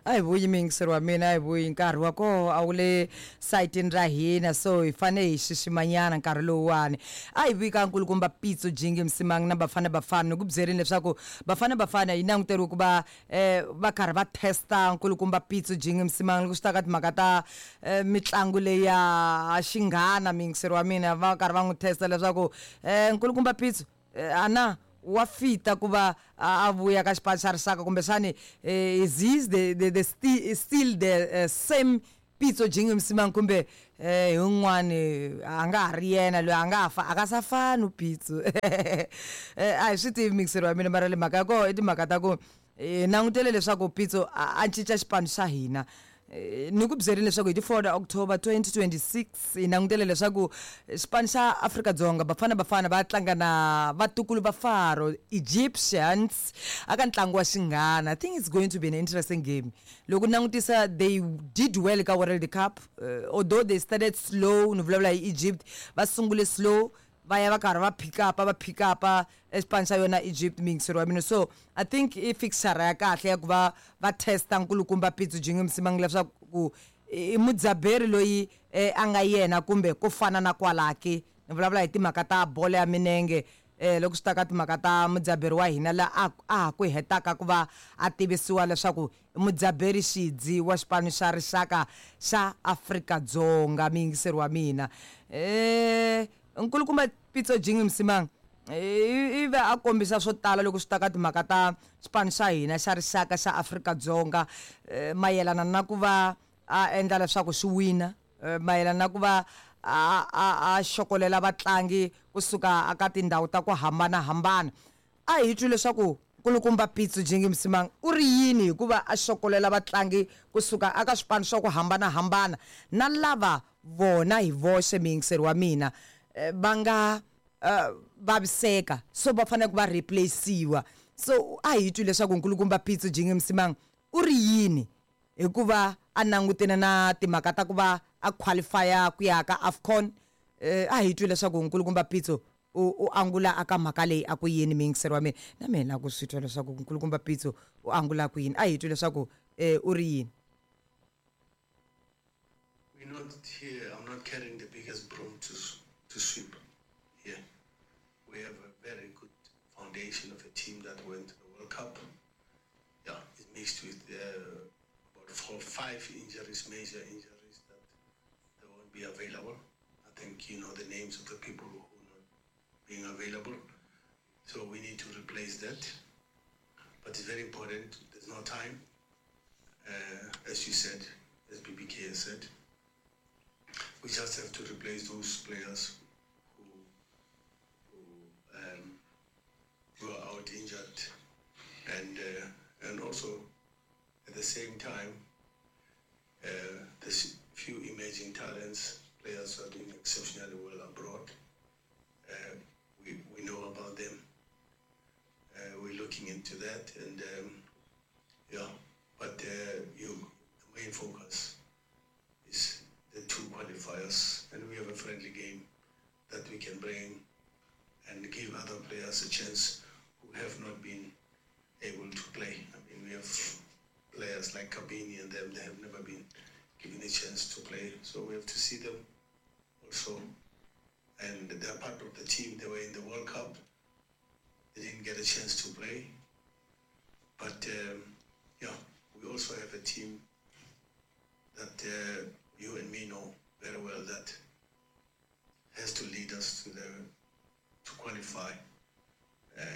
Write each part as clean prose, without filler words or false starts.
A hi vuyi muyingiseri wa mina, a hi vuyi nkarhi wa koho a wu le sayitini ra hina, so hi fane hi xiximanyana nkarhi lowuwani. A hi vuyi ka nkulukumba Pitso Jingi Msimang na Bafana Bafana. Ni ku byerini leswaku Bafana Bafana yi languteriwe ku va va karhi va testa nkulukumba Pitso Jingi Msimang loko swi ta ka timhaka ta mitlangu leyi ya xinghana, muyingiseri wa mina, va karhi va n'wi testa leswaku nkulukumba Pitso ana wa fita ku va a vuya ka xipano xa rixaka kumbexani is he the still the same Pitso Jingi Msimang kumbe hi un'wani a nga ha ri yena loyi a nga ha fa a ka sa fani uPitso. A hi swi tivi mixeri wa mina, mara le mhaka ya koho i timhaka ta ku hi langutele leswaku Pitso a cinca xipano xa hina. Ni ku byerile leswaku hi ti 4 October 2026 hi langutele leswaku xipano xa Afrika-Dzonga Bafana Bafana va tlanga na vatukulu va Faro Egyptians aka ntlangu wa xinghana. I think it's going to be an interesting game. Loko langutisa they did well ka World Cup, although they started slow, ni vulavula hi Egypt, va sungule slow va ya va karhi va pick up va pick up exipano xa yona Egypt, muyingiseri wa mina. So I think i fixture ya kahle ya ku va va testa nkulukumba Pitso Jingi Msimang leswaku i mudzaberi loyi a nga yena kumbe ku fana na kwalaki. Ni vulavula hi timhaka ta bolo ya minenge, loko swi ta ka timhaka ta mudzaberi wa hina la a ha ku hetaka ku va a tivisiwa leswaku i mudzaberi xidzi wa xipano xa rixaka xa Afrika-Dzonga, muyingiseri wa mina. Nkulukumba Pitso Jingi Msimang i ve a kombisa swo tala loko swi ta ka timhaka ta xipano xa hina xa rixaka xa Afrika-Dzonga, mayelana na ku va a endla leswaku xi wina, mayelana na ku va a xokolela vatlangi kusuka aka tindhawu ta ku hambanahambana. A hi twi leswaku nkulukumba Pitso Jingi Msimang u ri yini hikuva a xokolela vatlangi kusuka aka swipano swa ku hambanahambana na lava vona hi voxe, muyingiseri wa mina, va nga vaviseka, so va fanele ku va replace-iwa. So a hi twi leswaku nkulukumba Pitso Jingi Msimang u ri yini hikuva a langutene na timhaka ta ku va a qualify-a ku ya ka AFCON. A hi twi leswaku nkulukumba Pitso u angula aka mhaka leyi a ku yini, muyingiseri wa mina. Na mina la ku swi twa leswaku nkulukumba Pitso u angula ku yini. A hi twi leswaku u ri yini. We're not here, I'm not carrying the biggest broom to sweep here. We have a very good foundation of a team that went to the World Cup. Yeah, it's mixed with about 4 or 5 injuries, major injuries that they won't be available. I think you know the names of the people who are not being available. So we need to replace that. But it's very important, there's no time. As you said, as BBK has said, we just have to replace those players who are out injured, and also at the same time, there's few emerging talents, players who are doing exceptionally well abroad. We know about them. We're looking into that, and yeah. But the main focus is the 2 qualifiers, and we have a friendly game that we can bring and give other players a chance who have not been able to play. We have players like Kabini and them, they have never been given a chance to play. So we have to see them also. And they're part of the team. They were in the World Cup. They didn't get a chance to play. But we also have a team that you and me know very well that has to lead us to qualify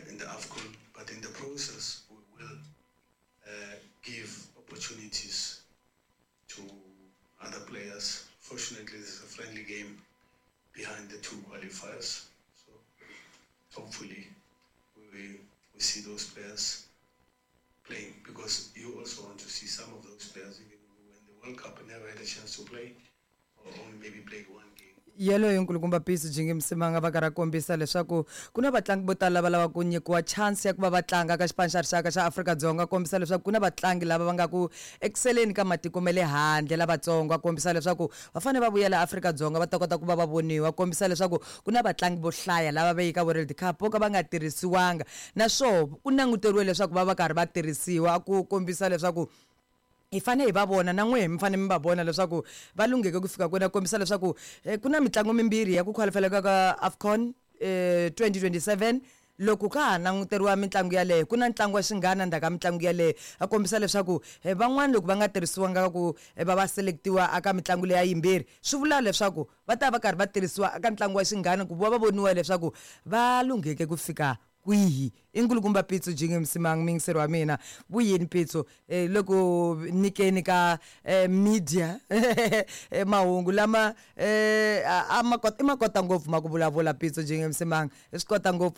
in the AFCON. But in the process, we will give opportunities to other players. Fortunately, this is a friendly game behind the 2 qualifiers. So hopefully we see those players playing, because you also want to see some of those players, even who were in the World Cup and never had a chance to play, or only maybe played one game. Yeleyo nkulukumba Pitso Jingi Msimang va karhi a kombisa leswaku ku na vatlangi vo tala lava lavaka ku nyikiwa chance ya ku va va tlanga ka xipano xa rixaka xa Afrika-Dzonga, kombisa leswaku ku na vatlangi lava va nga ku exceleni ka matiko ma le handle lavatsongo, a kombisa leswaku va fanele va vuyela Afrika-Dzonga va ta kota ku va va voniwa, kombisa leswaku ku na vatlangi vo hlaya lava va yaka World Cup vo ka va nga tirhisiwanga, naswona ku languteriwe leswaku va va karhi va tirhisiwa, ku kombisa leswaku Hi fanele hi va vona na n'wehe mi fanele mi va vona leswaku va lungheke ku fika kwini. A kombisa leswaku ku na mitlangu mimbirhi ya ku qualifyela ka AFCON 2027. Loko ka ha languteriwa mitlangu yaleyo, ku na ntlangu wa xinghana ndzhaku ka mitlangu yaleyo. A kombisa leswaku van'wani loko va nga tirhisiwanga ku va selectiwa aka mitlangu leya yimbirhi, swi vula leswaku va ta va karhi va tirhisiwa eka ntlangu wa xinghana ku va va voniwa leswaku va lungheke ku fika kwihi. I nkulukumba Pitso Jingi Msimang, muyingiseri wa mina. Vuyini Pitso, loko nyikeni ka media mahungu lama a ma kota, i ma kota ngopfu ma ku vulavula. Pitso Jingi Msimang i swi kota ngopfu.